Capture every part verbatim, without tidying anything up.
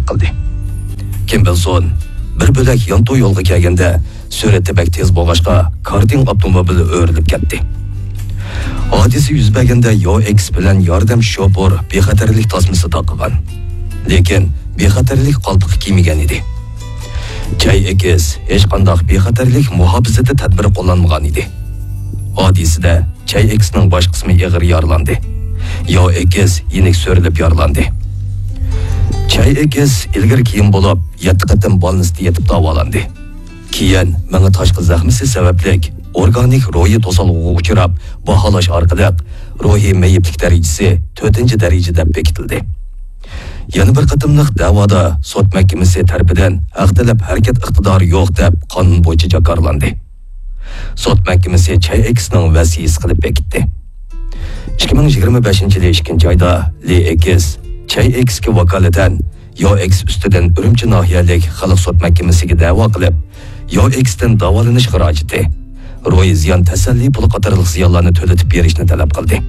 قىلدى. كىم بىلسۇن، بىر بۆلەك يانتۇ يولغا كەلگەندە، سۈرئىتى بەك تېز بولغاچقا، كارتىڭ ئاپتوموبىلى ئۆرۈلۈپ كەتتى. ھادىسە يۈز بەرگەندە ياۋ ئېكس بىلەن ياردەم شوپۇر بىخەتەرلىك تاسمىسى تاقىغان. لېكىن بىخەتەرلىك قالپىقى كىيمىگەن ئىدى. چاي ئېكس ھېچقانداق بىخەتەرلىك مۇھاپىزىتى تەدبىرى قوللانمىغان ئىدى. ھادىسىدە چاي ئېكسنىڭ باش قىسمى ئېغىر يارىلاندى. ياۋ ئېكس يېنىك سۆرىلىپ يارىلاندى. چاي ئېكس ئىلگىرى كېيىن بولۇپ يەتتە قېتىم بالنىستتا يېتىپ داۋالاندى. كېيىن مېڭە تاشقى زەخمىسى سەۋەبلىك ئورگانىك روھىي توسالغۇغا ئۇچراپ، باھالاش ئارقىلىق روھىي مېيىپلىك دەرىجىسى تۆتىنچى دەرىجە دەپ بېكىتىلدى. يەنە بىر قېتىملىق دەۋادا سوت مەھكىمىسى تەرىپىدىن ھەق تەلەپ ھەرىكەت ئىقتىدارى يوق دەپ قانۇن بويىچە جاكارلاندى. سوت مەھكىمىسى چاي ئېكسنىڭ ۋەسىيىسى قىلىپ بېكىتتى. ئىككى مىڭ يىگىرمە بەشىنچى يىلى ئىككىنچى ئايدا لى ئېكس چاي ئېكسكە ۋاكالىتەن ياۋ ئېكس ئۈستىدىن ئۈرۈمچى ناھىيەلىك خەلق سوت مەھكىمىسىگە دەۋا قىلىپ، ياۋ ئېكستىن داۋالىنىش خىراجىتى، روھىي زىيان تەسەللى پۇلى قاتارلىق زىيانلارنى تۆلىتىپ بېرىشنى تەلەپ قىلدى.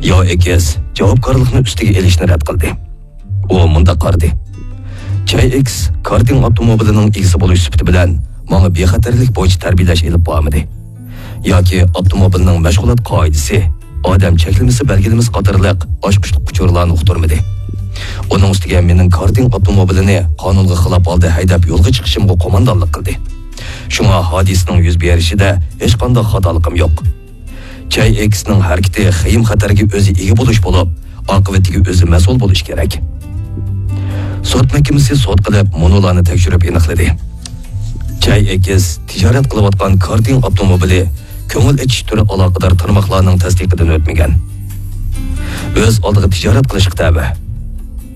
ياۋ ئېكس جاۋابكارلىقنى ئۈستىگە ئېلىشنى رەت قىلدى. ئۇ مۇنداق قارىدى: چاي ئېكس كارتىڭ ئاپتوموبىلىنىڭ ئىگىسى بولۇش سۈپىتى بىلەن ماڭا بىخەتەرلىك بويىچە تەربىيەلەش ئېلىپ بارمىدى. ياكى ئاپتوموبىلنىڭ مەشغۇلات قائىدىسى، ئادەم چەكلىمىسى بەلگىلىمىسى قاتارلىق ئاچقۇچلۇق ئۇچۇرلارنى ئۇقتۇرمىدى. ئۇنىڭ ئۈستىگە مېنىڭ كارتىڭ ئاپتوموبىلىنى قانۇنغا خىلاپ ھالدا ھەيدەپ يولغا چىقىشىمغا قوماندانلىق قىلدى. شۇڭا ھادىسىنىڭ يۈز بېرىشىدە ھېچقانداق خاتالىقىم يوق. چاي ئېكسنىڭ ھەرىكىتى خېيىم خەتەرگە ئۆزى ئىگە بولۇش بولۇپ، ئاقىۋىتىگە ئۆزى مەسئۇل بولۇش كېرەك. سوت مەھكىمىسى سوت قىلىپ، مۇنۇلارنى تەكشۈرۈپ ئېنىقلىدى. چاي ئېكس تىجارەت قىلىۋاتقان كارتىڭ ئاپتوموبىلى كۆڭۈل ئېچىش تۈرى ئالاقىدار تارماقلارنىڭ تەستىقىدىن ئۆتمىگەن. ئۆز ئالدىغا تىجارەت قىلىشقا تەۋە.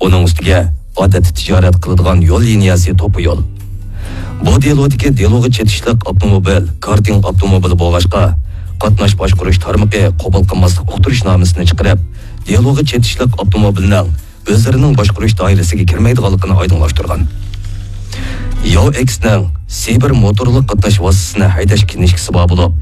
ئۇنىڭ ئۈستىگە ئادەتتە تىجارەت قىلىدىغان يول لىنىيەسى توپا يول. بۇ دېلودىكى دېلوغا چېتىشلىق ئاپتوموبىل كارتىڭ ئاپتوموبىلى بولغاچقا، قاتناش باشقۇرۇش تارمىقى قوبۇل قىلماسلىق ئۇقتۇرۇشنامىسىنى چىقىرىپ، دېلوغا چېتىشلىق ئاپتوموبىلنىڭ ئۆزلىرىنىڭ باشقۇرۇش دائىرىسىگە كىرمەيدىغانلىقىنى ئايدىڭلاشتۇرغان. ياۋ ئېكسنىڭ سىبىر موتورلۇق قاتناش ۋاسىتىسىنى ھەيدەش كىنىشكىسى بار بولۇپ،